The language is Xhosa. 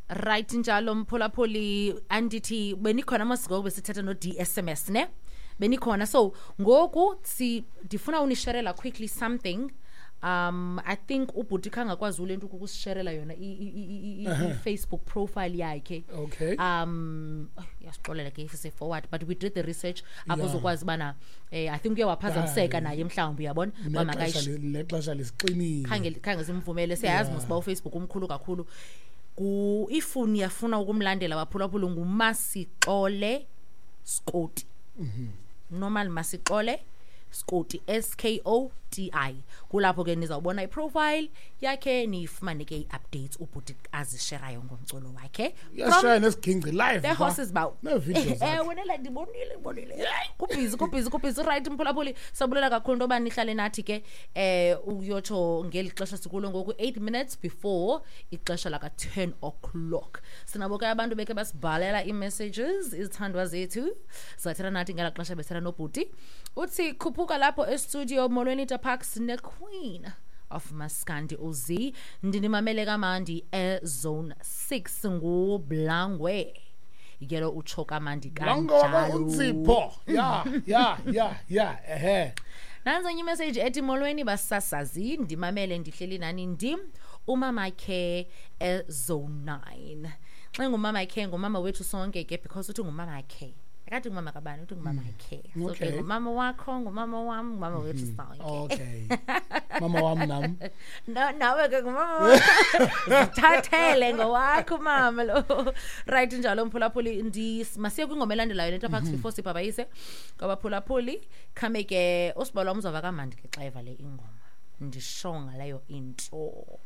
Right, njalo mphulaphuli, andithi benikhona mos ngoku besithetha no-DSMS ne, benikhona. So ngoku si ndifuna unisherela quickly something. I think ubhuti khangakwazi ule nto ukusisherela yona i-Facebook profile yakhe. Oh, yasixolela ke if forward, but we did the research apho uzokwazi ubana I think uye waphazamiseka naye mhlawumbi, uyabona uba nexesha lisixinile. Khange simvumele. Siyayazi mos uba uFacebook umkhulu kakhulu. Ku if niyafuna ukumlandela, baphulaphula, nguMasixole Skoti, normal Masixole Skoti, Skoti. Kulapho ke nizawubona iprofile yakhe, niyifumane ke i-updates ubhuti azisherayo ngomculo wakhe. Uyashaya nesigingci live The horses bow. Nee-videos zakhe. Ewe, nela ndibonile. Kubhizi, kubhizi, kubhizi. Right, mphulaphuli, sabulela kakhulu into yoba nihlale nathi ke uyotsho ngeli xesha sikulo ngoku, 8 minutes before ixesha laka-10 o'clock. Sinabo ke abantu beke basibhalela ii-messages, izithandwa zethu zathetha nathi ngela xesha bethetha nobhuti. Uthi khuphuka lapho estudio, molweni Parks ne-queen of maskandi uz, ndinimamele kamandi ezone 6, nguBlangwe yelo, utsho kamandi. Lango Kanjalo. Unzipho, ya, ehe. Nanzo enye imessage ethi molweni basasazi, ndimamele ndihleli nani, ndim umamakhe ezone 9. Xa ngumamakhe, ngumama wethu sonke ke, because uthi ngumamakhe, akathi ngumama kabani, uthi ngumamakhe. So ke ngumama wakho, ngumama wam, ngumama wethu sonke. Okay, mama wam nam. No, nawe ke ngumama wakho, zithathele ngowakho umama lo. Right, njalo mphulaphuli, masiye kwingoma elandelayo lento phakathi before sibhabhayise kwabaphulaphuli. Khame ke usibalo wam uzawuva kamandi ke xa eva le ingoma, ndisho ngaleyo intro.